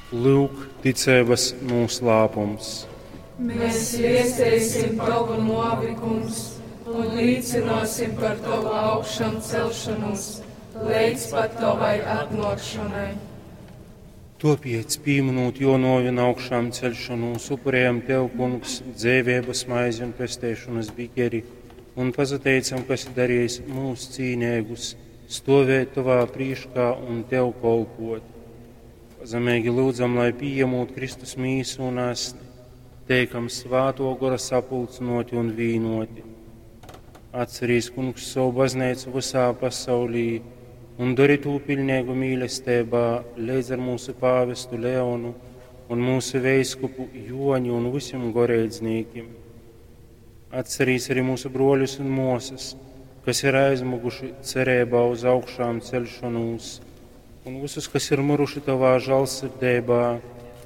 Lyuk, ticeibas nūslāpums. Mēs viesteisim Tavu novi, Kungs, un līcināsim par Tavu augšām celšanos, līdz pat Tavai atnākšanai. Topiec, pieminot jo novi un augšām celšanos, upurējam Tev, Kungs, dzēvības maizi un pestēšanas bikeri, un pazateicam, kas darījis mūs cīnēgus, stovēt Tavā prīškā un Tev kolpot. Pazemīgi lūdzam, lai pieņemot Kristus mīsu un asni, teikam svāto gora sapulcinoti un vīnoti. Atcerīs, Kungs, savu baznīcu visā pasaulī un dari tū pilnīgu mīlestībā līdz ar mūsu pāvestu Leonu un mūsu veiskupu Joņu un visiem goreidznīkim. Atcerīs arī mūsu broļus un mosas, kas ir aizmuguši cerībā uz augšām celšanos, un visus, kas ir miruši tavā žālsirdībā,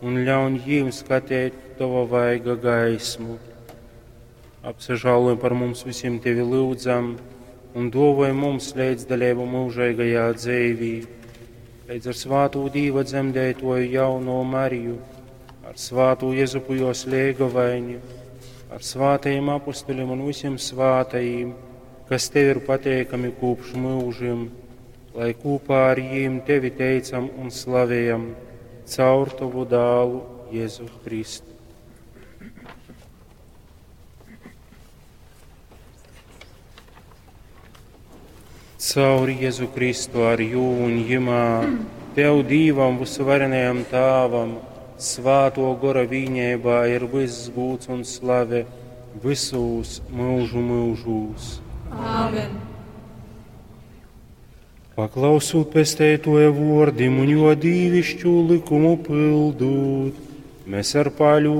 un ļauj jiem skatīt tava vaiga gaismu. Apsažāloj par mums visiem tevi lūdzam, un dovoj mums līdzdalību mūžīgajā dzīvī, līdz ar svāto Dīva dzemdētoju jauno Mariju, ar svāto Jezupu jos liegavaini, ar svātajiem apustuļiem un visiem svātajiem, kas tev ir pateikami kopš mūžiem, lai kopā ar jiem tevi teicam un slavējam caur tavu dālu Jēzu Kristu. Caur Jēzu Kristu ar jū un jimā, Tev Dīvam visuvarenajam Tāvam, svāto gora vīņībā ir viss gūts un slave visūs mūžu mūžūs. Āmen! Paklausūt pestētoja vordim un jo dīvišķu likumu pildūt, mēs ar paļu.